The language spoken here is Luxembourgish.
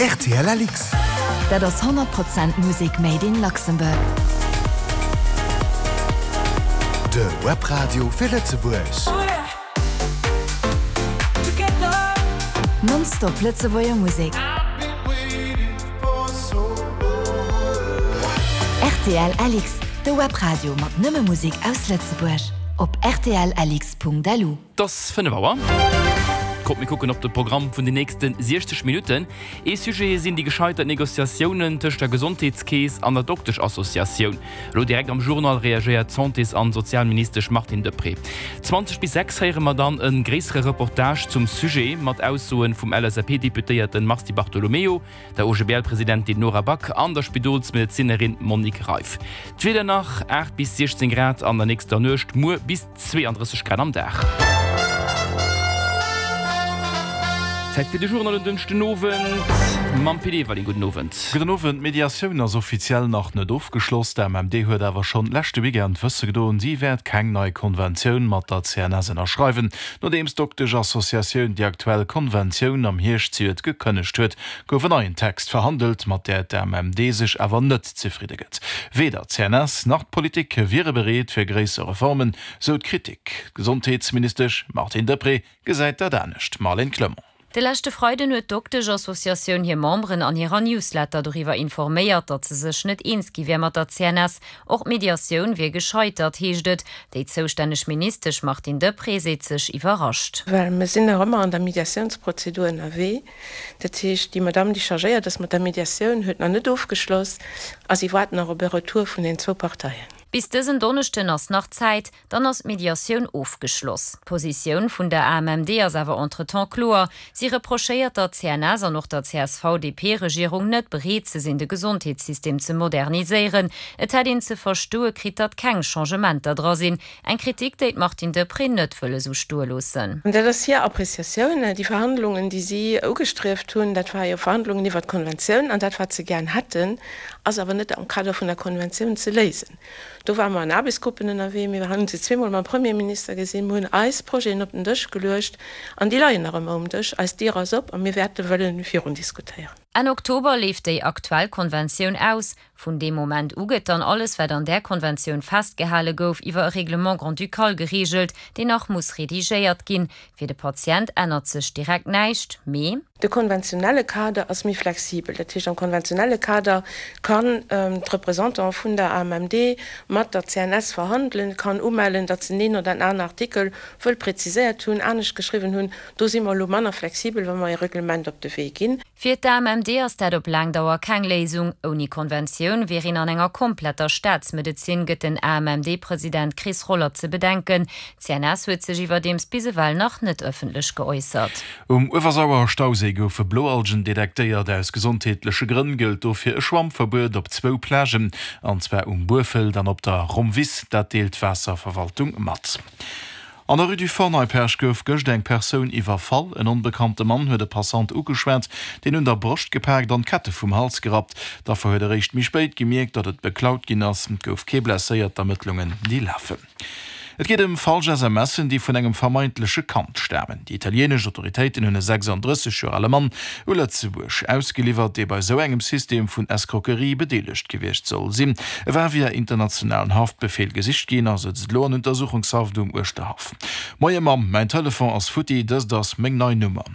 Rtl Alix. Dat ass 100 Prozent Musek made in Luxembourg. De Webradio fir Lëtzebuerg. Non-stop Lëtzebuerger Musek. Rtl Alix, de Webradio mat nëmme Musek aus Lëtzebuerg. Op rtlalix.lu. Et ass 5 Auer. Kommt mir kucken op de Programm vun den nächste 60 Minutten. Ee Sujet sinn déi gescheitert Negociatiounen tëscht der Gesondheetskeess an der Dokteschassociatioun. Elo direkt am Journal reagéiert d'Santés an Sozialministesch Martine Deprez. 20 bis 6 héiere mer dann e gréissere Reportage zum Sujet mat Aussoen vum LSAP-Deputéierten Mars Di Bartolomeo, der OGBL-Presidentin Nora Back an der Spidolsmedezinerin Monique Reiff. D'Wieder nach, 8 bis 16 Grad an der nächster Nuecht, muer bis 32 Grad am Dag. Zäit fir de Journal en Dënschden Owend mam Pit Everling. Gudden Owend. Gudden Owend. D'Mediatioun ass offiziell nach net ofgeschloss. D'AMMD huet awer schonn leschte Weekend wësse gedoen, si wäert keng nei Konventioun mat der CNS ënnerschreiwen. Nodeems d'Doktesch-Associatioun déi aktuell Konventioun am Hierscht zejoert gekënnegt huet, gouf en neien Text verhandelt, mat där d'AMMD sech awer net zefridde gëtt. Weder d'CNS nach d'Politik wiere bereet fir gréisser Reformen, sou d'Kritik. D'Gesondheetsministesch Martine Deprez gesäit dat anescht. Marlène Clement. De leschte Freiden huet d'Doktesch-Associatioun hir Memberen an hirer Newsletter doriwwer informéiert, datt se sech net eens gi wär mat der CNS. Och d'Mediatioun wier gescheitert, heescht et. Déi zoustänneg Ministesch Martine Deprez seet sech iwwerrascht. Well mir sinn nach ëmmer an der Mediatiounsprozedur ënnerwee. Dat heescht, déi Madamm, déi chargéiert ass mat der Mediatioun, huet nach net ofgeschloss a si waart nach op e Retour vun den zwou Parteien. Bis dësen Donneschden ass nach Zäit, dann ass d'Mediatioun ofgeschloss. D'Positioun vun der AMMD ass awer entretemps kloer, Si reprochéiert der CNS an och der CSV-DP-Regierung net, bereet ze sinn, de Gesondheetssystem ze moderniséieren. Et hätt een ze verstoe kritt, datt keng Changementer dra sinn. Eng Kritik, déi d'Martine Deprez net wëll esou stoe loossen. Dat ass hir Appreciatioun. Déi Verhandlungen, déi si ugestrieft hunn, dat war jo Verhandlungen iwwert d'Konventioun an dat, wat se gären hätten, ass awer net am Kader vun der Konventioun ze léisen. Do ware mer an Aarbechtsgruppen ënnerwee, mir hunn se zweemol mam Premierminister gesinn, mir hunn eis Projeten op den Dësch geluecht an déi leien nach ëmmer um Dësch. Eis Dier ass op a mir wäerte wëlle virun diskutéieren. Enn Oktober leeft déi aktuell Konventioun aus. Vun deem Moment u gëtt dann alles, wat an där Konventioun festgehale gouf, iwwer e Règlement grand-ducal gereegelt, deen nach muss redigéiert ginn. Fir de Patient ännert sech direkt näischt, mee. De konventionelle Kader ass méi flexibel. Dat heescht, am konventionelle Kader kann d'Représentant vun der AMMD mat der CNS verhandelen, kann umellen, datt se en een oder en aner Artikel wëll präziséiert hunn, anescht geschriwwen hunn. Do si mer elo manner flexibel, wa mer e Reglement op de Wee ginn. Fir d'AMMD ass dat op laang Dauer keng Léisung. Ouni Konventioun wier een an enger kompletter Staatsmedezin, gëtt den AMMD-President Chris Roller ze bedenken. D'CNS huet sech iwwerdeems bis ewell nach net ëffentlech geäussert. Um Uewersauer Stauséi goufe Bloalgen detektéiert. Aus gesondheetleche Grënn gëllt dofir e Schwammverbuet op zwou Plagen, an zwar um Buerfelt an op der Rommwiss. Dat deelt d'Waasserverwaltung mat. An der Rue du Fort Neipperg gouf gëscht eng Persoun iwwerfall. En onbekannte Mann huet e Passant ugeschwat, deen un der Broscht gepaakt an d'Kette vum Hals gerappt. D'Affer huet eréischt méi spéit gemierkt, datt et beklaut ginn ass. Et gouf kee blesséiert, d'Ermëttlungen déi lafen. Et geet ëm falsch SMSen, déi vun engem vermeintleche Kand stamen. Déi italieenesch Autoritéiten hunn e 36 Joer ale Mann u Lëtzebuerg ausgeliwwert, dee bei sou engem System vun Escroquerie bedeelegt gewiescht soll sinn. E war via internationalen Haftbefeel gesicht ginn a sëtzt elo an Untersuchungshaft um Uerschterhaff. Moie Mamm, mäin Telefon ass futti, dëst ass meng nei Nummer.